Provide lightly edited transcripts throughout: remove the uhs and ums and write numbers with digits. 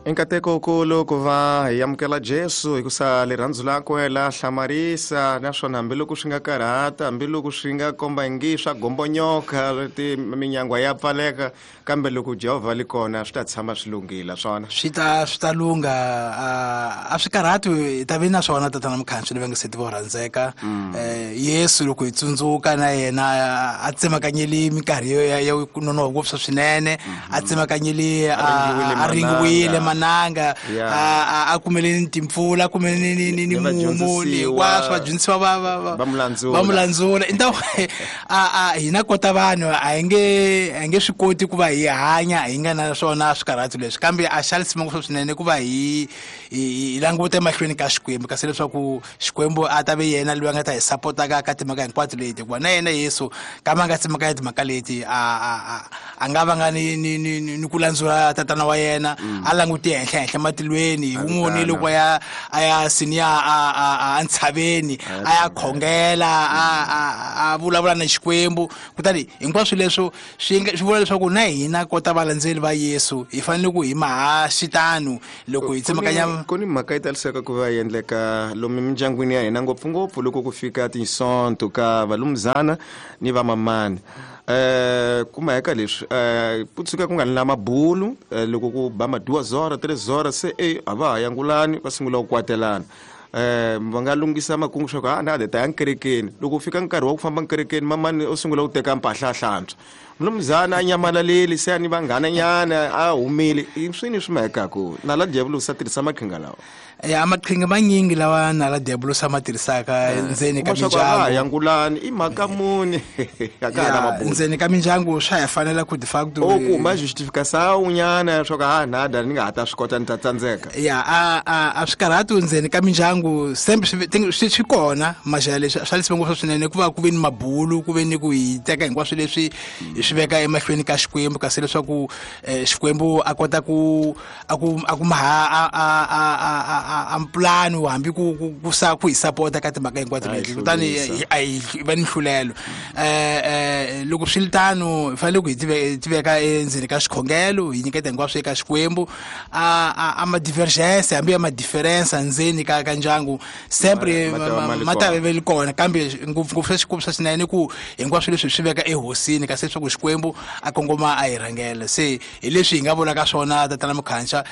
I nkateko wukulu ku va hi amukela Jesu hikusa lirhandzu lakwe la hlamarisa, naswona hambiloko swi nga karhata, hambiloko swi nga komba ingi swa gombonyoka, minyangwa ya pfaleka, kambe loko Jehovha li kona swi ta tshama swi lunghile swona. Swi ta lungha, a swi karhati, hi ta vi na swona, tatana Mukhansi ni vangiseti vo rhandzeka. Yesu loko hi tsundzuka na yena a tsemakanyeli minkarhi ya ku nonoha ngopfu swinene, a tsemakanyeli, a ringiwile mananga, a kumele ni timpfula, a kumele ni mumu, hinkwaswo vadyondzisiwa va va va mu landzula. I ntaku a hina kota vanhu a hi nge swi koti ku va hi hanya hi nga na swona swikarhati leswi, kambe a xa lisima ngopfu swinene ku va hi languta emahlweni ka Xikwembu, kasi leswaku Xikwembu a ta ve yena loyi a nga ta hi sapotaka ka timhaka hinkwato leti, hikuva na yena Yesu kama a nga tsemakanya timhaka leti, a nga va nga ni ku landzula tatana wa yena. A langute henhla henhla matilweni, hi wun'woni loko a ya siniya a ntshaveni a ya khongela, a vulavula na Xikwembu. Kutani hinkwaswo leswo swi vula leswaku na hina kota valandzeli va Yesu hi fanele ku hi maha xitano loko hi tsemakanya. Ku ni mhaka yi taliseka ku va endleka lomu mindyangwini ya hina, ngopfungopfu loko ku fika tinsonto ka valumzana ni vamamani. Kumaheka leswi ku tshuka ku nga ni la mabulu, loko ku ba ma-2 horas, 3 horas, se e a va ha yangulani, va sungula ku kwatelana. Va nga lunghisa makungu swa ku a na ta ya nkerekeni. Loko u fika nkarhi wa ku famba nkerekeni, mamani u sungula ku teka mpahla a hlantswa, mulumuzana a nyamalaleli, se a ni vanghana nyana a humile. I swini swi mahekaku nala diyavulosi a tirhisa maqhinga lawa? Ya, maqhinga manyingi lawa nala diyavulosi a ma tirhisaka ndzeni ka Kuma swa ku a va ha mindyangu. Yangulani i mhaka muni, a ka ha na mabulu. Ndzeni ka mindyangu swa ha fanela ku de facto O kuma justificação nyana swa ku a nada ni nga ha ta swi kota, ni ta tsandzeka. Ya, a swi karhati ndzeni ka mindyangu sempre swi kona maxaya leswi swa leswi ngopfu swinene ku va ku ve ni mabulu, ku ve ni ku hi teka hinkwaswo leswi hi swi veka emahlweni ka Xikwembu, kasi leswaku Xikwembu a kota ku a ku maha a mpulani hambi ku hi sapota ka timhaka hinkwato A hi leti. Kutani hlurisa. A hi va ni nhlulelo. Loko swi ri tano, hi fanele ku hi tiveka endzeni ka xikhongelo, hi nyiketa hinkwaswo eka Xikwembu. A ma-divergence hambi ya ma-difference ndzeni ka ndyangu sempre Ma ta va ma li ma ta kona. ve li kona, kambe ngopfungopfu swa swa swinene ku hinkwaswo leswi hi swi veka ehosini, kasi leswaku Xikwembu a kongoma a hi rhangela. Se hi leswi hi nga vulaka swona, tatana Mukhanxa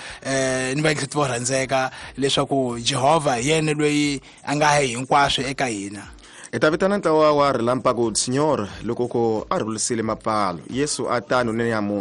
ni vayingiseti vo rhandzeka, leswaku Jehovha hi yena loyi a nga hinkwaswo eka hina. Hi ta vitana ntlawa wa Rilampaku Senhor loko ko a rhulisile mapfalo. Yesu a tano ni nyamuntlha.